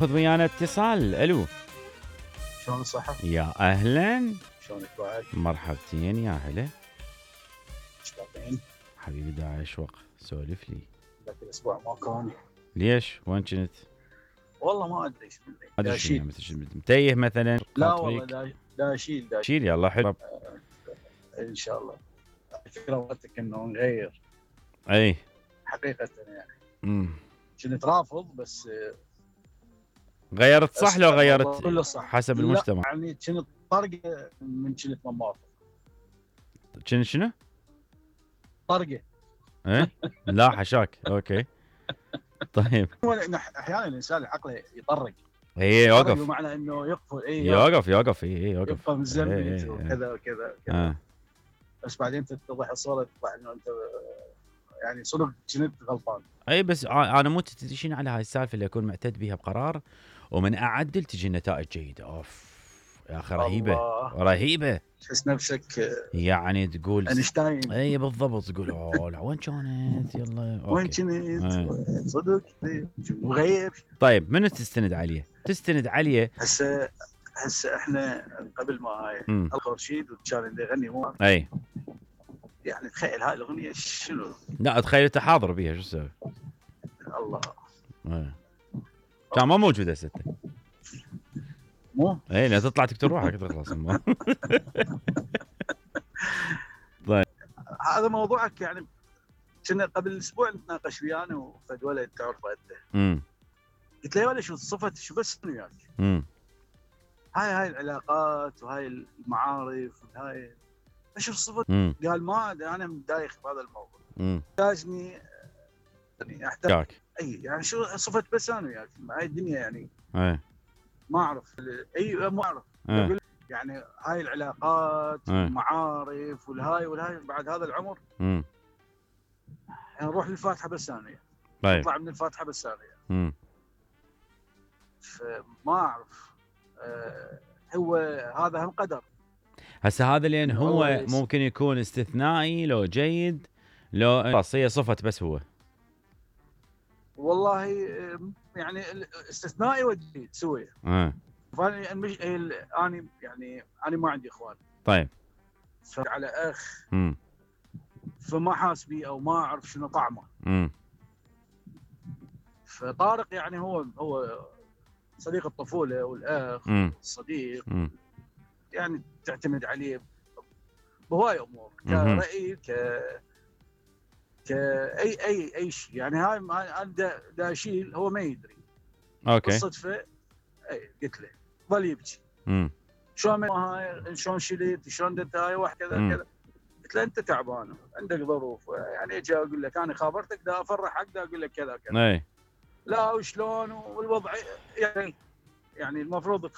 خذ ويانا اتصال. الو شلون الصحة؟ يا اهلا شلونك بعد؟ مرحبتين يا هلا مشتاقين؟ حبيبي دا اشوق سولف لي. ذاك الاسبوع ما كان. ليش وين كنت؟ والله ما ادري ايش ما ادري شو داشيل. مثل متيه مثلا؟ لا والله داشيل شيل يلا حلو. ان شاء الله. الفكرة وقتك انه نغير اي حقيقة يعني. كنت رافض بس غيرت صح لو غيرت كله صح حسب المجتمع؟ يعني كنت طرقة من كنت ما موافق. كنت شنو؟ طرقة. ايه لا حشاك اوكي. طيب احيانا الانسان عقله يطرق. اي يوقف. بمعنى انه يقفل يوقف يوقف يبقى مزمت وكذا وكذا. بس بعدين تتضح الصورة تطلع انه انت يعني صدق كنت غلطان. اي بس انا مو تدشين على هاي السالفه اللي اكون معتد بها بقرار ومن اعدل تجي نتائج جيده. اوف يا اخي رهيبه رهيبه. تحس نفسك يعني تقول اينشتاين. اي بالضبط تقول اوه لا وين كانت يلا وين كنت صدق وغيب. طيب منو تستند عليه؟ تستند عليه هسه احنا قبل ما هاي الخورشيد وكان اللي يغني مو اي يعني تخيل هاي الاغنيه شنو؟ لا اتخيل انت حاضر بيها شو تسوي؟ الله كان ما موجوده ستة مو اي لا تطلع تكتب روحك تخلص. طيب هذا موضوعك يعني. كنا قبل اسبوع نتناقش ويانا وفد ولد تعرفه انت. قلت له يا ولد شو بس وياك. هاي العلاقات وهاي المعارف وهاي اشوف صفة. قال ما انا مدايخ بهذا الموضوع. يحتاجني يعني احتاج اي يعني شو صفة بس انا وياك هاي الدنيا يعني. ما اعرف ما اعرف. يعني هاي العلاقات والمعارف والهاي بعد هذا العمر يعني نروح للفاتحه بس انا يعني. نطلع من الفاتحه بس انا فما اعرف. هو هذا هم قدر. هسه هذا لان هو ممكن يكون استثنائي لو جيد لو خلاص هي صفة بس هو. والله يعني استثنائي وجيد سوي. فانا مش انا يعني انا ما عندي اخوان. طيب على اخ فما حاس بي او ما اعرف شنو طعمه. فطارق يعني هو صديق الطفوله والاخ الصديق. يعني تعتمد عليه بهواي امور كرأي اي شيء يعني. هاي انا دا اشيل هو ما يدري. اوكي بالصدفه قلت له ظل يبكي. شلون شلت شلون درت هاي واحد كذا كذا. قلت له انت تعبان عندك ظروف يعني اجي اقول لك انا خابرتك دا افرحك دا اقول لك كذا كذا. لا وشلون والوضع يعني المفروض